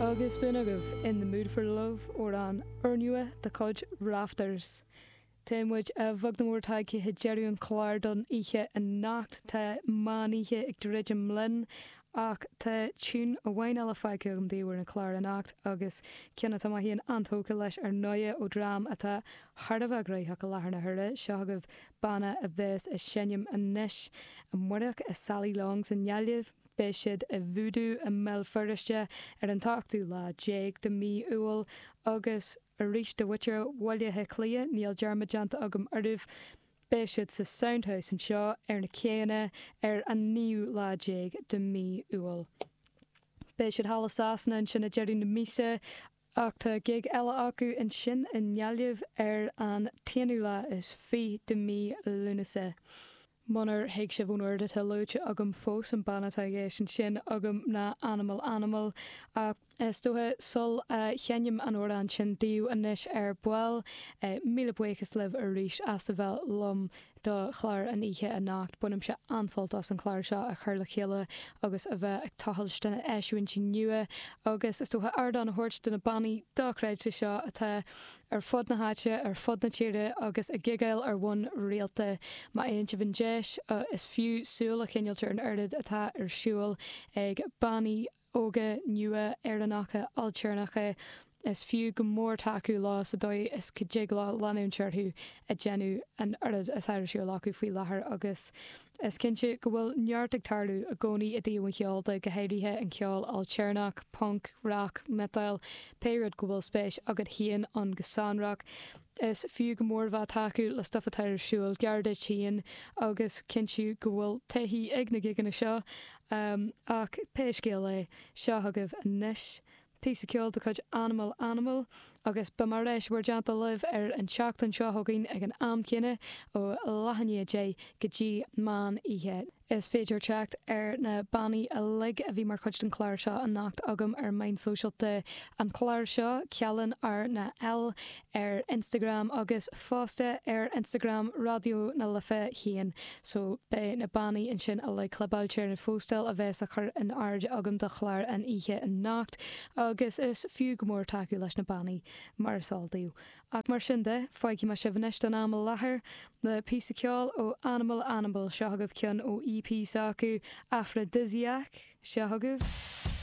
Agus b'in agaibh In the Mood for Love, amhrán úrnua de chuid Rafters. Tá muid a bheag nó a mhór tagtha chuig deireadh an chláir don oíche anocht. Tá meán oíche ag druidim linn ach tá tiún amháin eile fágtha agam daoibh ar an chlár anocht agus ceann atá mé féin an-tógtha leis ar ndóighe ó dream atá thar a bheith gnoitheach i láthair na huaire. Seo agaibh banna a bheas ag seinm anois amárach i Sally Long's i nGaillimh. Beidh siad i Voodoo i mBéal Feirste ar an t-ochtú lá déag de mhí Iúil agus arís do mhuintir Bhaile Átha Cliath, níl dearmad déanta agam oraibh, beidh siad sa Soundhouse anseo ar na céanna ar an naoú lá déag de mhí Iúil. Beidh siad thall i Sasana ansin ag deireadh na míosa Ach tá gig eile acu ansin i nGaillimh ar an t-aonú lá is fiche de mhí Lúnasa. Munar thuig sibh ón oiread atá luaite agam fós, an banna atá i gceist ansin agam ná Animal Animal. Ach is dócha sul a sheinnim an amhrán sin daoibh anois ar ball, míle buíochas libh arís as a bheith liom do chlár an oíche anocht. Bainimse an-sult as an chlár seo a chur le chéile agus a bheith ag tochailt do na eisiúintí nua agus is dócha ardán a thabhairt do na bannaí dochreidte seo atá ar fud na háite, ar fud na tíre agus ag gigeáil ar bhonn rialta. Má fhaigheann sibh an deis, is fiú súil a choinneáilt ar an oiread atá ar siúl ag bannaí óga, nua, Éireannacha, ailtéarnacha. Is fiú go mór tacú leo sa dóigh is go dtig leo leanúint orthu ag déanamh an oiread atá ar siúl acu faoi láthair agus is cinnte go bhfuil neart ag tarlú i gcónaí i dtaobh an cheoil de, go háirithe an ceol ailtéarnach, punc, rac, miotal, pé rud go bhfuil spéis agat féin ann go sonrach. Is fiú go mór bheith ag tacú le stuif atá ar siúl gar duit féin agus cinntiú go bhfuil taithí ag na gigeanna seo. Ach pé scéal é, seo chugaibh anois píosa ceoil de chuid Animal Animal agus beidh mé ar ais i bhur dteannta libh ar an tseachtain seo chugainn ag an am céanna ó leath i ndiaidh 10 go dtí meán oíche. Is féidir teacht ar na bannaí uilig a bhí mar chuid den chlár seo anocht agam ar meáin sóisialta an chláir seo, Cealann R ná L ar Instagram agus fosta ar Instagram Raidió na Life féin. So beidh na bannaí ansin uilig clibeáilte ar an phóstáil a bheas á chur in airde agam do chlár an oíche anocht agus is fiú go mór tacú leis na bannaí mar is eol daoibh. Ach mar sin de, fágfaidh mé sibh anois don am i láthair le píosa ceoil ó Animal Animal, seo chugaibh ceann ó EP s'acu, Aphrodisiac, seo chugaibh.